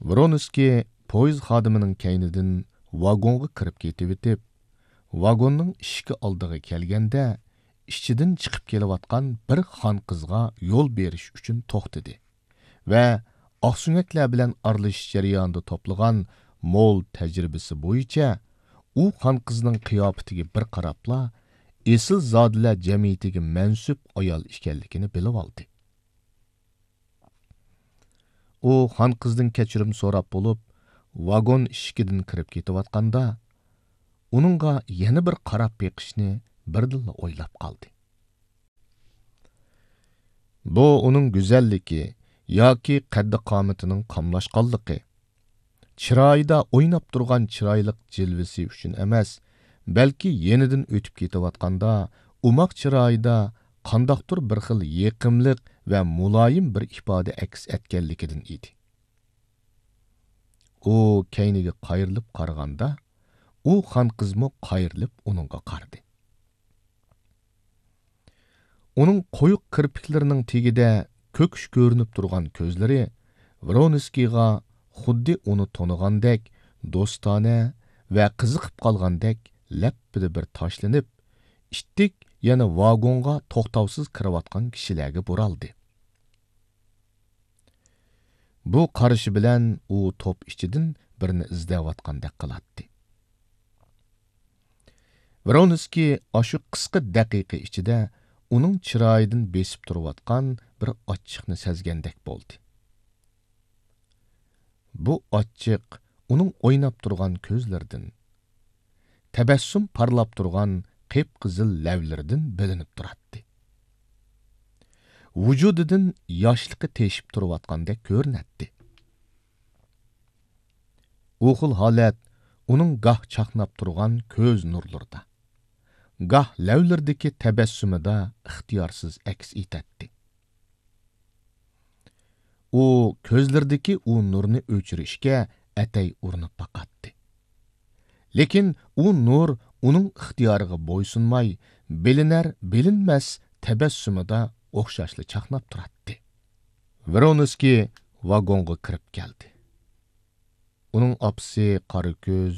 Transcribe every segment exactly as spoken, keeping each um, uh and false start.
ۋرونسكىي پويىز خادىمىنىڭ كەينىدىن ۋاگونغا كىرىپ كېتىۋېتىپ، ۋاگوننىڭ ئىشىكى ئالدىغا كەلگەندە، ئىچىدىن چىقىپ كېلىۋاتقان بىر خانقىزغا يول بېرىش ئۈچۈن توختىدى ۋە ئاقسۆڭەكلەر بىلەن ئارىلىشىش جەريانىدا توپلىغان مول تەجرىبىسى بويىچە ئۇ خانقىزنىڭ قىياپىتىگە بىر قاراپلا، ئېسىلزادىلەر جەمئىيىتىگە مەنسۇپ ئايال ئىكەنلىكىنى بىلىۋالدى. ئۇ خانقىزدىن كەچۈرۈم سوراپ بولۇپ، ۋاگون ئىشىكىدىن كىرىپ كېتىۋاتقاندا، ئۇنىڭغا يەنە بىر قاراپ بېقىشنى بىردىنلا ئويلاپ قالدى. بۇ ئۇنىڭ گۈزەللىكى ياكى قەددى-قامىتىنىڭ قاملاشقانلىقى، چىرايىدا ئويناپ تۇرغان چىرايلىق جىلۋىسى ئۈچۈن ئەمەس، بەلكى يېنىدىن ئۆتۈپ كېتىۋاتقاندا ئوماق چىرايىدا قانداقتۇر بىر خىل يېقىملىق ۋە مۇلايىم بىر ئىپادە ئەكس ئەتكەنلىكىدىن ئىدى. ئۇ كەينىگە قايرىلىپ قارىغاندا، ئۇ خانقىزمۇ قايرىلىپ ئۇنىڭغا قارىدى. ئۇنىڭ قويۇق كىرپىكلىرىنىڭ تېگىدە كۆكۈش كۆرۈنۈپ تۇرغان كۆزلىرى ۋرونسكىيغا خۇددى ئۇنى تونۇغاندەك، دوستانە ۋە قىزىقىپ قالغاندەك لەپپىدە بىر تاشلىنىپ، ئىتتىك يەنە ۋاگونغا توختاۋسىز كىرىۋاتقان كىشىلەرگە بۇرالدى. بۇ قارىشى بىلەن ئۇ توپ ئىچىدىن بىرنى ئىزدەۋاتقاندەك قىلاتتى. ۋرونسكىي ئاشۇ قىسقا دەقىقە ئىچىدە ئۇنىڭ چىرايىدىن بېسىپ تۇرۇۋاتقان بىر ئاچچىقنى سەزگەندەك بولدى. بۇ ئاچچىق ئۇنىڭ ئويناپ تۇرغان كۆزلىرىدىن، تەبەسسۇم پارلاپ تۇرغان قىپقىزىل لەۋلىرىدىن بىلىنىپ تۇراتتى. ۋۇجۇدىدىن ياشلىقى تېشىپ تۇرۇۋاتقاندەك كۆرۈنەتتى. ئۇ خىل ھالەت ئۇنىڭ گاھ چاقناپ تۇرغان كۆز نۇرلىرىدا، گاھ لەۋلىرىدىكى تەبەسسۇمىدا ئىختىيارسىز ئەكس ئېتەتتى. ئۇ كۆزلىرىدىكى ئۇ نۇرنى ئۆچۈرۈشكە ئەتەي ئۇرۇنۇپ باقاتتى. لېكىن ئۇ نۇر ئۇنىڭ ئىختىيارىغا بويسۇنماي، بىلىنەر-بىلىنمەس تەبەسسۇمىدا ئوخشاشلا چاقناپ تۇراتتى. ۋرونسكىي ۋاگونغا كىرىپ كەلدى. ئۇنىڭ ئاپىسى قارا كۆز،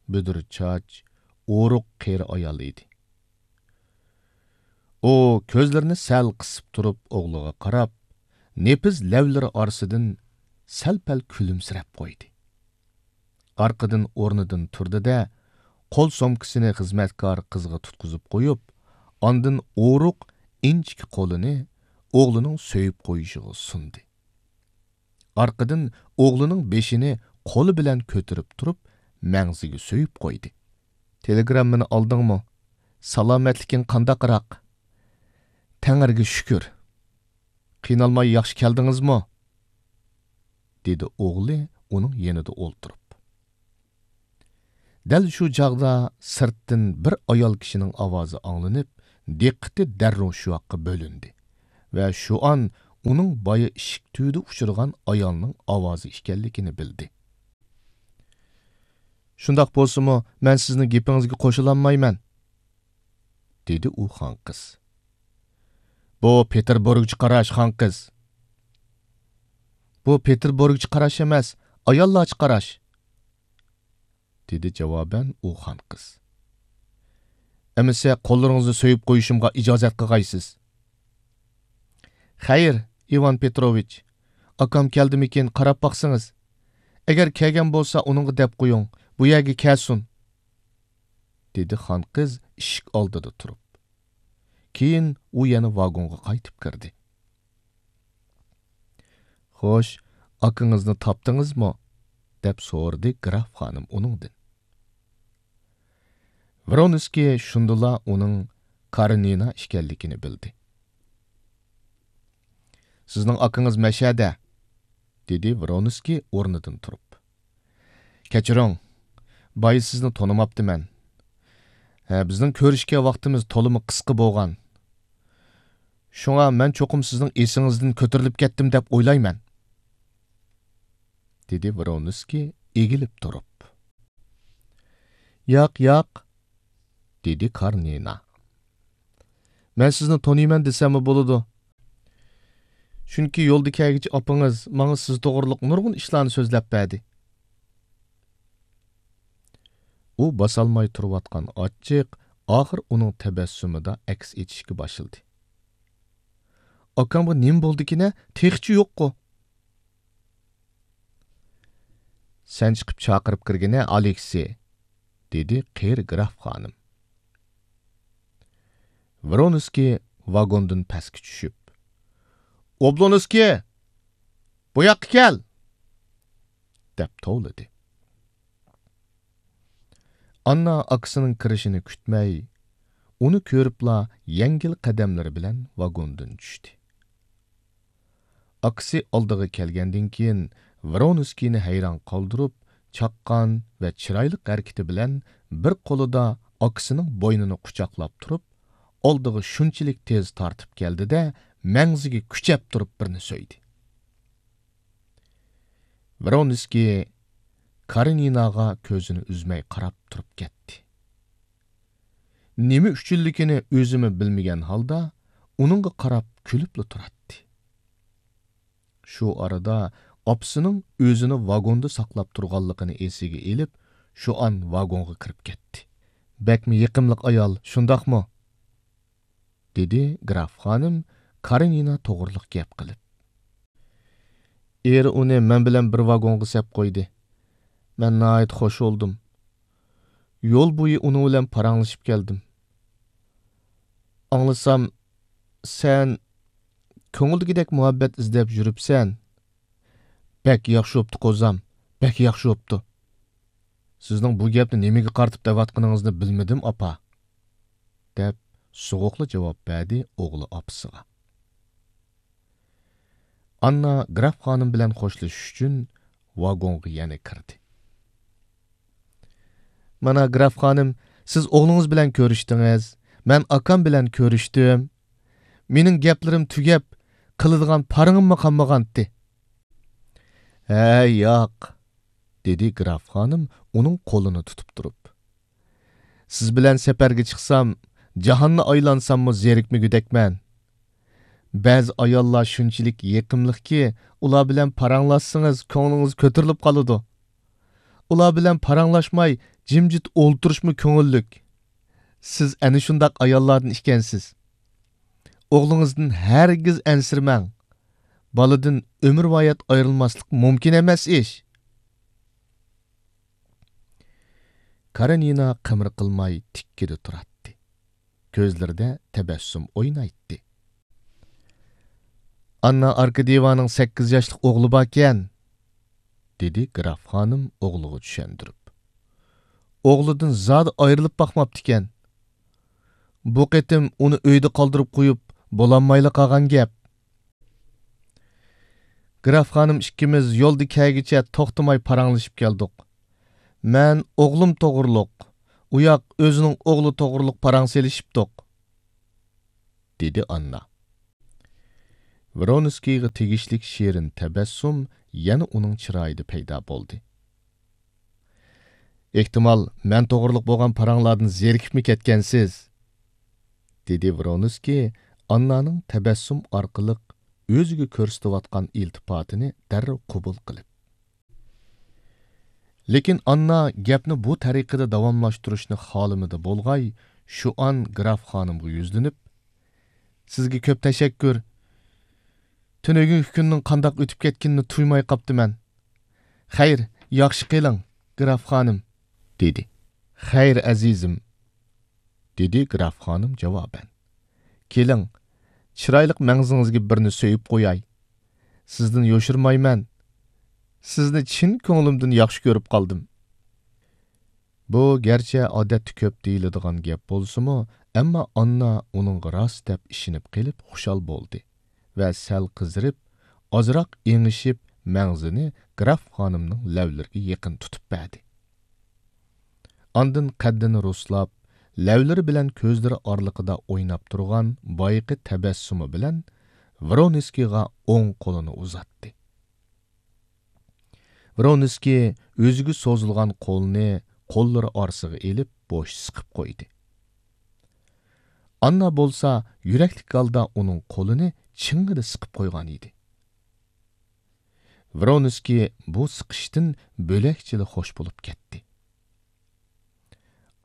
بۈدۈر چاچ، ئورۇق قېرى ئايال ئىدى. ئۇ كۆزلىرىنى سەل قىسىپ تۇرۇپ ئوغلىغا قاراپ، نېپىز لەۋلىرى ئارىسىدىن سەل-پەل كۈلۈمسىرەپ قويدى. ئارقىدىن ئورنىدىن تۇردى-دە، قول سومكىسىنى خىزمەتكار قىزغا تۇتقۇزۇپ قويۇپ، ئاندىن ئورۇق ئىنچىكە قولىنى ئوغلىنىڭ سۆيۈپ قويۇشىغا سۇندى. ئارقىدىن ئوغلىنىڭ بېشىنى قولى بىلەن كۆتۈرۈپ تۇرۇپ، مەڭزىگە سۆيۈپ قويدى. تېلېگراممىنى ئالدىڭمۇ؟ سالامەتلىكىڭ قانداقراق؟ تەڭرىگە شۈكۈر. قىينالماي ياخشى كەلدىڭىزمۇ؟ دېدى ئوغلى ئۇنىڭ يېنىدا ئولتۇرۇپ. دەل شۇ چاغدا سىرتتىن بىر ئايال كىشىنىڭ ئاۋازى ئاڭلىنىپ، دىققىتى دەررۇ شۇ ياققا بۆلۈندى ۋە شۇ ئان ئۇنىڭ بايا ئىشىك تۈۋىدە ئۇچرىغان ئايالنىڭ ئاۋازى ئىكەنلىكىنى بىلدى. شۇنداق بولسىمۇ، مەن سىزنىڭ گېپىڭىزگە قوشۇلالمايمەن، دېدى ئۇ خانقىز. بۇ پېتېربۇرگچە قاراش، خانقىز. بۇ پېتېربۇرگچە قاراش ئەمەس، ئاياللارچە قاراش، دېدى جاۋابەن ئۇ خانقىز. ئەمىسە قوللىرىڭىزنى سۆيۈپ قويۇشۇمغا ئىجازەت قىلغايسىز. خەير، ئىۋان پېتروۋىچ، ئاكام كەلدىمىكىن، قاراپ باقسىڭىز. ئەگەر كەلگەن بولسا، ئۇنىڭغا دەپ قويۇڭ، بۇ يەرگە كەلسۇن، دېدى خانقىز ئىشىك ئالدىدا تۇرۇپ. كېيىن ئۇ يەنە ۋاگونغا قايتىپ كىردى. خوش، ئاكىڭىزنى تاپتىڭىزمۇ؟ دەپ سورىدى گراف خانىم ئۇنىڭدىن. ۋرونسكىي شۇندىلا ئۇنىڭ كارېنىنا ئىكەنلىكىنى بىلدى. سىزنىڭ ئاكىڭىز مەشەدە، دېدى ۋرونسكىي ئورنىدىن تۇرۇپ. كەچۈرۈڭ، بايا سىزنى تونۇماپتىمەن. ھە، بىزنىڭ كۆرۈشكەن ۋاقتىمىز تولىمۇ قىسقا بولغان. شۇڭا مەن چوقۇم سىزنىڭ ئېسىڭىزدىن كۆتۈرۈلۈپ كەتتىم دەپ ئويلايمەن، دېدى ۋرونسكىي ئېگىلىپ تۇرۇپ. ياق، ياق، دېدى كارنىنا. مەن سىزنى تونۇيمەن دېسەممۇ بولىدۇ. چۈنكى يولدا كەلگۈچى ئاپىڭىز ماڭا سىز توغرۇلۇق نۇرغۇن ئىشلارنى سۆزلەپ بەردى. ئۇ باسالماي تۇرۇۋاتقان ئاچچىق ئاخىر ئۇنىڭ تەبەسسۇمىدا ئەكس ئېتىشكە باشلىدى. ئاكامغا نېمە بولدىكىنە؟ تېخىچە يوققۇ. سەن چىقىپ چاقىرىپ كىرگىنە، ئالېكسېي، دېدى قېرى گراف خانىم. ۋرونسكىي ۋاگوندىن پەسكە چۈشۈپ، ئوبلونسكىي، بۇ ياققا كەل! دەپ توۋلىدى. ئاننا ئاكىسىنىڭ كىرىشىنى كۈتمەي، ئۇنى كۆرۈپلا يەڭگىل قەدەملىرى بىلەن ۋاگوندىن چۈشتى. ئاكىسى ئالدىغا كەلگەندىن كېيىن، ۋرونسكىينى ھەيران قالدۇرۇپ، چاققان ۋە چىرايلىق ھەرىكىتى بىلەن بىر قولىدا ئاكىسىنىڭ بوينىنى قۇچاقلاپ تۇرۇپ، ئالدىغا شۇنچىلىك تېز تارتىپ كەلدى-دە، مەڭزىگە كۈچەپ تۇرۇپ بىرنى سۆيدى. ۋرونسكىي كارېنىناغا كۆزىنى ئۈزمەي قاراپ تۇرۇپ كەتتى. نېمە ئۈچۈنلۈكىنى ئۆزىمۇ بىلمىگەن ھالدا ئۇنىڭغا قاراپ كۈلۈپلا تۇراتتى. شۇ ئارىدا ئاپىسىنىڭ ئۆزىنى ۋاگوندا ساقلاپ تۇرغانلىقىنى ئېسىگە ئېلىپ، شۇئان ۋاگونغا كىرىپ كەتتى. بەكمۇ يېقىملىق ئايال، شۇنداقمۇ؟ دېدى گراف خانىم كارېنىنا توغرىلىق گەپ قىلىپ. ئېرى ئۇنى مەن بىلەن بىر ۋاگونغا سەپ قويدى. مەن ناھايىتى خوش بولدۇم. يول بويى ئۇنىڭ بىلەن پاراڭلىشىپ كەلدىم. ئاڭلىسام، سەن كۆڭۈلدىكىدەك مۇھەببەت ئىزدەپ يۈرۈپسەن. بەك ياخشى بوپتۇ، قوزام، بەك ياخشى بوپتۇ. سىزنىڭ بۇ گەپنى نېمىگە قارىتىپ دەۋاتقىنىڭىزنى بىلمىدىم، ئاپا، دەپ سوغۇقلا جاۋاب بەردى ئوغلى ئاپىسىغا. ئاننا گراف خانىم بىلەن خوشلىشىش ئۈچۈن ۋاگونغا يەنە كىردى. مانا، گراف خانىم، سىز ئوغلىڭىز بىلەن كۆرۈشتىڭىز، مەن ئاكام بىلەن كۆرۈشتۈم. مېنىڭ گەپلىرىم تۈگەپ، قىلىدىغان پارىڭىممۇ قالمىغانتى. ھە، ياق، دېدى گراف خانىم ئۇنىڭ قولىنى تۇتۇپ تۇرۇپ. سىز بىلەن سەپەرگە چىقسام، جاھاننى ئايلانساممۇ زېرىكمىگۈدەكمەن. بەزى ئاياللار شۇنچىلىك يېقىملىقكى، ئۇلار بىلەن پاراڭلاشسىڭىز كۆڭلىڭىز كۆتۈرۈلۈپ قالىدۇ. ئۇلار بىلەن پاراڭلاشماي جىمجىت ئولتۇرۇشمۇ كۆڭۈللۈك. سىز ئەنە شۇنداق ئاياللاردىن ئىكەنسىز. ئوغلىڭىزدىن ھەرگىز ئەنسىرىمەڭ. بالىدىن ئۆمۈرۋايەت ئايرىلماسلىق مۇمكىن ئەمەس ئىش. كارېنىنا قىمىر قىلماي تىككىدە تۇراتتى. كۆزلىرىدە تەبەسسۇم ئوينايتتى. ئاننا ئاركاديېۋانىڭ سەككىز ياشلىق ئوغلى باركەن، دېدى گراف خانىم ئوغلىغا چۈشەندۈرۈپ. ئوغلىدىن زادى ئايرىلىپ باقماپتىكەن. بۇ قېتىم ئۇنى ئۆيدە قالدۇرۇپ قويۇپ بولالمايلا قالغان گەپ. گراف خانىم ئىككىمىز يولدا كەلگۈچە توختىماي پاراڭلىشىپ كەلدۇق. مەن ئوغلۇم توغرۇلۇق، ئۇياق ئۆزىنىڭ ئوغلى توغرۇلۇق پاراڭ سېلىشىپتۇق، دېدى ئاننا. ۋرونسكىيغا تېگىشلىك شېرىن تەبەسسۇم يەنە ئۇنىڭ چىرايىدا پەيدا بولدى. ئېھتىمال، مەن توغرۇلۇق بولغان پاراڭلاردىن زېرىكىپمۇ كەتكەنسىز؟ دېدى ۋرونسكىي ئاننانىڭ تەبەسسۇم ئارقىلىق ئۆزىگە كۆرسىتىۋاتقان ئىلتىپاتىنى دەررۇ قوبۇل قىلىپ. لېكىن ئاننا گەپنى بۇ تەرىقىدە داۋاملاشتۇرۇشنى خالىمىدى بولغاي، شۇئان گراف خانىمغا يۈزلىنىپ، سىزگە كۆپ تەشەككۈر. تۈنۈگۈنكى كۈننىڭ قانداق ئۆتۈپ كەتكىنىنى تۇيماي قاپتىمەن. خەير، ياخشى قېلىڭ، گراف خانىم، دېدى. خەير، ئەزىزىم، دېدى گراف خانىم جاۋابەن. كېلىڭ، چىرايلىق مەڭزىڭىزگە بىرنى سۆيۈپ قوياي. سىزدىن يوشۇرمايمەن. سىزنى چىن كۆڭلۈمدىن ياخشى كۆرۈپ قالدىم. بۇ گەرچە ئادەتتە كۆپ دېيىلىدىغان گەپ بولسىمۇ، ئەمما ئاننا ئۇنىڭغا راست دەپ ئىشىنىپ قېلىپ خۇشال بولدى ۋە سەل قىزىرىپ، ئازراق ئېڭىشىپ، مەڭزىنى گراف خانىمنىڭ لەۋلىرىگە يېقىن تۇتۇپ بەردى. ئاندىن قەددىنى رۇسلاپ، لەۋلىرى بىلەن كۆزلىرى ئارىلىقىدا ئويناپ تۇرغان بايىقى تەبەسسۇمى بىلەن ۋرونسكىيغا ئوڭ قولىنى ئۇزاتتى. ۋرونسكىي ئۆزىگە سوزۇلغان قولنى قوللىرى ئارىسىغا ئېلىپ، بوش سىقىپ قويدى. ئاننا بولسا يۈرەكلىك ھالدا ئۇنىڭ قولىنى چىڭڭىدە سىقىپ قويغان ئىدى. ۋرونسكىي بۇ سىقىشتىن بۆلەكچىلا خوش بولۇپ كەتتى.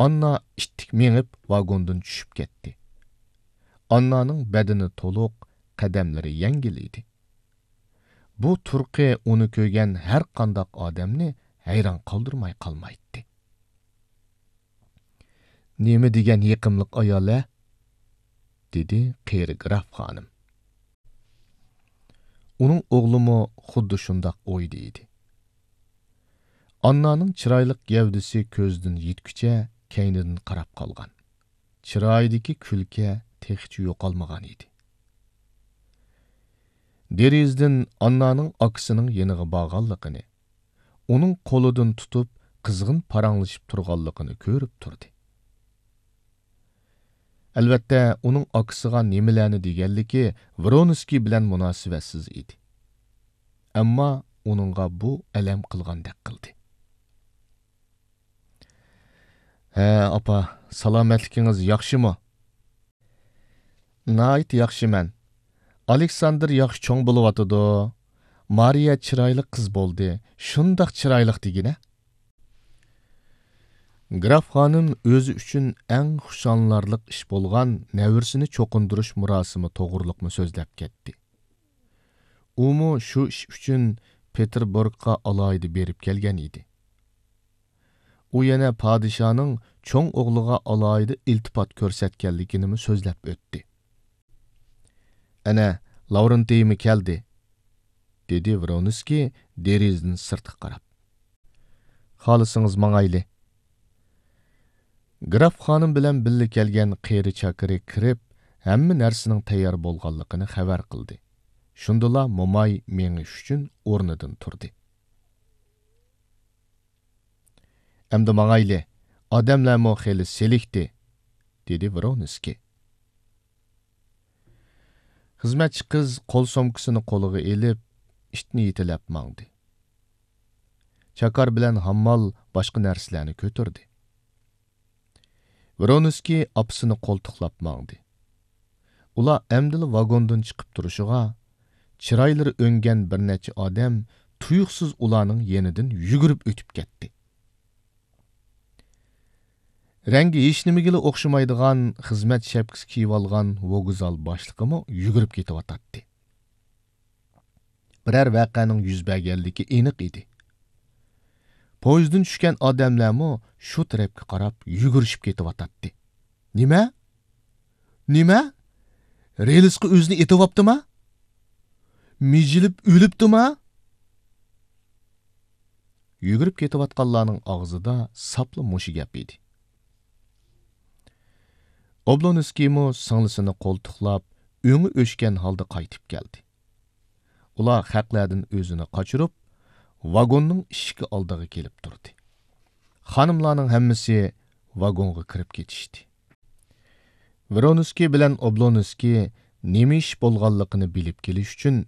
ئاننا ئىتتىك مېڭىپ ۋاگوندىن چۈشۈپ كەتتى. ئاننانىڭ بەدىنى تولۇق، قەدەملىرى يەڭگىل ئىدى. بۇ تۇرقى ئۇنى كۆرگەن ھەر قانداق ئادەمنى ھەيران قالدۇرماي قالمايتتى. «نېمە دېگەن يېقىملىق ئايال-ھە؟» دېدى قېرى گراف خانىم. ئۇنىڭ ئوغلىمۇ خۇددى شۇنداق ئويدا ئىدى. ئاننانىڭ چىرايلىق گەۋدىسى كۆزدىن يىتكۈچە كەينىدىن قاراپ قالغان. چىرايىدىكى كۈلكە تېخىچە يوقالمىغان ئىدى. دېرىزىدىن ئاننانىڭ ئاكىسىنىڭ يېنىغا بارغانلىقىنى، ئۇنىڭ قولىدىن تۇتۇپ قىزغىن پاراڭلىشىپ تۇرغانلىقىنى كۆرۈپ تۇردى. ئەلۋەتتە، ئۇنىڭ ئاكىسىغا نېمىلەرنى دېگەنلىكى ۋرونسكىي بىلەن مۇناسىۋەتسىز ئىدى. ئەمما ئۇنىڭغا بۇ ئەلەم قىلغاندەك قىلدى. «ھە، ئاپا، سالامەتلىكىڭىز ياخشىمۇ؟» «ناھايىتى ياخشىمەن. ئالېكساندىر ياخشى چوڭ بولۇۋاتىدۇ. مارىيە چىرايلىق قىز بولدى. شۇنداق چىرايلىق دېگىنە.» گراف خانىم ئۆزى ئۈچۈن ئەڭ خۇشاللىنارلىق ئىش بولغان نەۋرىسىنى چوقۇندۇرۇش مۇراسىمى توغرۇلۇقمۇ سۆزلەپ كەتتى. ئۇمۇ شۇ ئىش ئۈچۈن پېتېربۇرگقا ئالاھىدە بېرىپ كەلگەن ئىدى. ئۇ يەنە پادىشاھنىڭ چوڭ ئوغلىغا ئالاھىدە ئىلتىپات كۆرسەتكەنلىكىنىمۇ سۆزلەپ ئۆتتى. «ئەنە، لاۋرېنتىيمۇ كەلدى»، دېدى ۋرونسكىي دېرىزىدىن سىرتقا قاراپ. «خالىسىڭىز ماڭايلى.» گراف خانىم بىلەن بىللە كەلگەن قېرى چاكىرى كىرىپ، ھەممە نەرسىنىڭ تەييار بولغانلىقىنى خەۋەر قىلدى. شۇندىلا موماي مېڭىش ئۈچۈن ئورنىدىن تۇردى. «ئەمدى ماڭايلى، ئادەملەرمۇ خېلى سېلىكتى»، دېدى ۋرونسكىي. خىزمەتچى قىز قول سومكىسىنى قولىغا ئېلىپ، ئىتنى يېتىلەپ ماڭدى. چاكار بىلەن ھاممال باشقا نەرسىلەرنى كۆتۈردى. ۋرونسكىي ئاپىسىنى قولتۇقلاپ ماڭدى. ئۇلار ئەمدىلا ۋاگوندىن چىقىپ تۇرۇشىغا، چىرايلىرى ئۆڭگەن بىر نەچچە ئادەم تۇيۇقسىز ئۇلارنىڭ يېنىدىن يۈگۈرۈپ ئۆتۈپ كەتتى. رەڭگى ھېچنېمىگىلا ئوخشىمايدىغان خىزمەت شەپكىسى كىيىۋالغان ۋوگزال باشلىقىمۇ يۈگۈرۈپ كېتىۋاتاتتى. بىرەر ۋەقەنىڭ يۈز بەرگەنلىكى ئېنىق ئىدى. پويىزدىن چۈشكەن ئادەملەرمۇ شۇ تەرەپكە قاراپ يۈگۈرۈشۈپ كېتىۋاتاتتى. «نېمە؟ نېمە؟ رېلىسقا ئۆزىنى ئېتىۋاپتىما؟ مىجىلىپ ئۆلۈپتىما؟» يۈگۈرۈپ كېتىۋاتقانلارنىڭ ئاغزىدا ساپلا مۇشۇ گەپ ئىدى. ئوبلونسكىيمۇ سىڭلىسىنى قولتۇقلاپ، ئۆڭى ئۆچكەن ھالدا قايتىپ كەلدى. ئۇلار خەقلەردىن ئۆزىنى قاچۇرۇپ، ۋاگوننىڭ ئىشىكى ئالدىغا كېلىپ تۇردى. خانىملارنىڭ ھەممىسى ۋاگونغا كىرىپ كېتىشتى. ۋرونسكىي بىلەن ئوبلونسكىي نېمە ئىش بولغانلىقىنى بىلىپ كېلىش ئۈچۈن